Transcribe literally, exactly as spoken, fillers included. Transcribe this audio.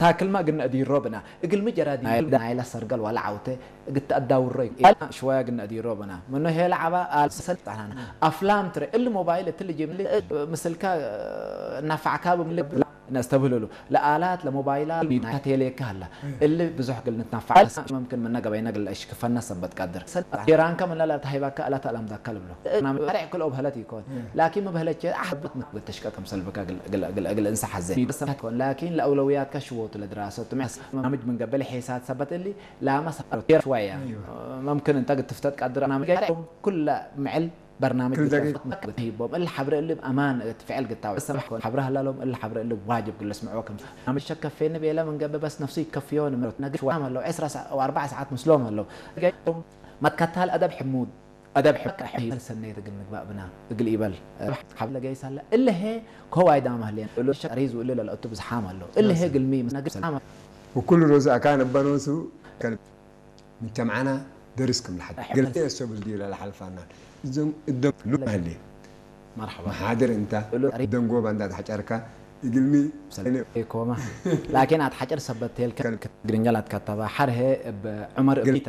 ታክልመ እግል ነአዲሮ ብና። እግልሚ ጀራዲን ናይለ ሰርገል ወለ ዐውቴ እግል ተአዳውሮ ኢኮን። ሽወያ እግል ነአዲሮ ብና። ምኑ ሄለ ዐባ አልሰል ጣናና። አፍላም ትረ። እሊ ሞባይል እትሊ ጅምሊ ምስልከ እናፋዕካ ብምል ነስተብህልሉ። ለአላት ለሞባይላት ቴሌከ ሀላ። እሊ ብዙሕ እግል ንትናፋዕ መምክን ምነ ገበይነ እግል ለአሽክፈነ ሰበት ቀድር። ጀራንከ ምነ ለተሀይባከ እለ ተአለምዳከ ልብሎ። ሸሬዕ ክልኦ በህለት ኢኮን። ላኪን ሚ በህለቼ አሕብት ምን ተሽቀ ክምሰል ብከ እግል፣ እግል፣ እግል፣ እግል እንሰ ሐዜ። ላኪን ለአውለውያትከ ሽወቱ ለድራሰቱ በርናምጅ ምን ገብእ ለሒሳት ሰበት እሊ ላመ ሰፈሮት ሸወያ። መምክን እንተ እግል ትፍተት ቀድር በርናምጅ ኩለ ምዕል በርናምጅ ክል ደቂቅ። ሂቦም እሊ ሐብረ እሊ አማን እት ፍዕል ግታው ሰማሕ ኮን ሐብረ ሀላሎም እሊ ሐብረ እሊ ዋጅብ እግል ልስምዕዎ ክም በርናምጅ ሸከፌኒ ቤለ ምን ገብእ በስ ነፍሱ ይከፍዮ ንምሮት ነግር ሸወያ ሀለው ዕስራ ሰዓ ወአርበዕ ሰዓት ምስሎም ሀለው። መትከታል አደብ ሕሙድ አደብ ሕቅ ሕይል ሰኔት እግል ንግባእ ብና እግል ኢበል ሐብ ለገይስ ሀለ። እለ ሄ ኮዋይ ዳመ ህሌን እሉ ሸሪዝ ወእለ ለለአቱ ብዝሓም ሀለው። እለ ሄ ግልሚ ምስነግር ሰላም ወኩሉ ሮዝ አካን እበ ኖሱ ከልብ ምጅተምዐና ደርስ ክም ለሐድ እሕ- ግልሚ እሰ ብልዲ ለለሐልፋና እዞም እደም ሉ ህሌ መርሐባ። መሓድር እንተ እሉ ጠሪ- ደንጎባ እንዳ ተሐጨርካ እግልሚ ሰለ- ሰኔ ኮማ ላኪን አትሐጨር ሰበት ቴልከ ከልብ ግርኛ ላትከተባ ሐር ሄ እብ ዑመር እብ ግልሚ